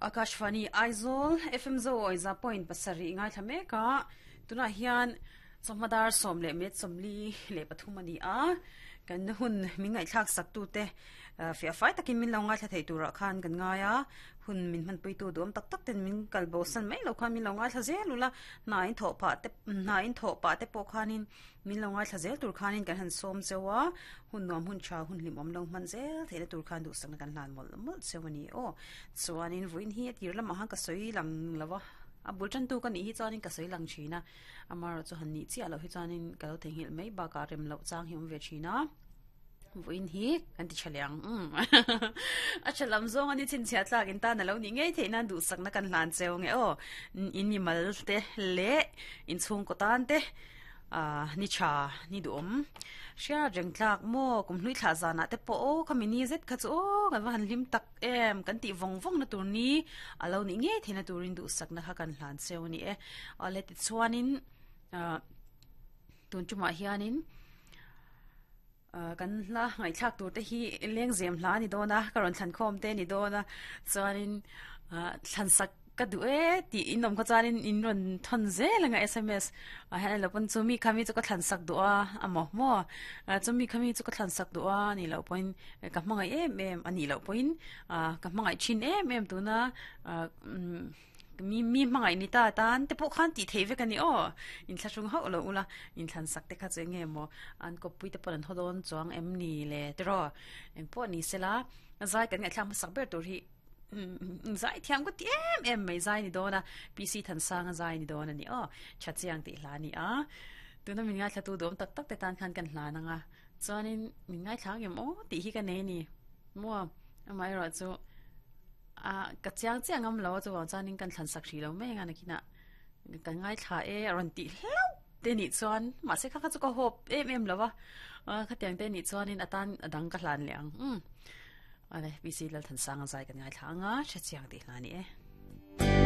Akashvani Aizawl FM Zo Awiza point pasarih ngaithla mek a, tunah hian chawhma dar 13:33 a ni a, kan hun min ngaihthlak sak tute fiah fai takin min lo ngaithla thei turah khan kan ngai a, hun min hmanpuitu duhawm tak tak ten min kal bo san mai lo khan min lo ngaithla zel ula, hna in thawh phah te hna in thawh pah te pawh khanin Min lo ngaithla zel tur khanin kan han sawm cheu a, hun nuam hun tha hun hlimawm lo hman zel theihna tur khan duhsakna kan hlan mawlh mawlh cheu a ni aw. Chuanin vawiin hi a tir lamah khan ka sawi lang lo a, a bul tantu ka nih hi chuanin ka sawi lang thin a, amaherawhchu han nih chiah loh hi chuanin ka lo theihnghilh mai bakah rem loh chang hi awm ve thin a. Vawiin hi kan ti tha leh ang umm a tha lam zawng a ni chhinchhiah tlak in tan a lo nih ngei theih nan duhsakna kan hlan cheu nge aw in mi mal te leh in chhungkaw tan te ah ni tha ni duhawm hriat reng tlak maw kum hlui thlah zanah te pawh aw khami ni zet kha chu aw kan va han hlim tak em kan tih vawng vawng na tur ni a lo nih ngei theih na turin duhsakna kha kan hlan cheu a ni e awle tichuanin ah tun tumah hianin. Kan hla ngaihthlak tur te hi lengzem hla a ni dawn a, ka rawn thlan khawm te a ni dawn a, chuanin thlan sak ka duh e tih in awm kha chuanin in rawn thawn zel anga sms ah hian alo pawn chumi kha mi chu ka thlan sak duh a amaw maw chumi kha mi chu ka thlan sak duh a nih loh pawhin ka hmangaih em em a nih loh pawhin ka hmangaih thin em em tuna Mi mi hmangaih ni ta tan te pawh khan tih theih vek a ni aw. Inthlahrung hauh lo ula, inthlan sak te kha chu eng nge maw an kawppui te pawh an haw dawn chuang em ni le tiraw. Eng pawh ni sela, zai kan ngaihthlak hmasak ber tur hi zai thiam ka ti em em mai zai ni dawn a, PC Thansanga zai ni dawn a ni aw. Tha chiang tih hla a ni a. Tuna min ngaithlatu duhawm tak tak te tan khan kan hlan ang a. Chuanin min ngaithla ang em aw tih hi ka nei a ni. Maw amaherawhchu ah ka chiang chiah ngam lo a chuvang chuanin kan thlan sak hrih lo mai anga nakinah kan ngaithla e a rawn tih hlauh te nih chuan mahse kha kha chu ka hawp em em lo va khatiang te nih chuanin a tan a dang ka hlan leh ang umm awle PC Lalthansanga zai kan ngaithla anga hrechiang tih hla a ni e.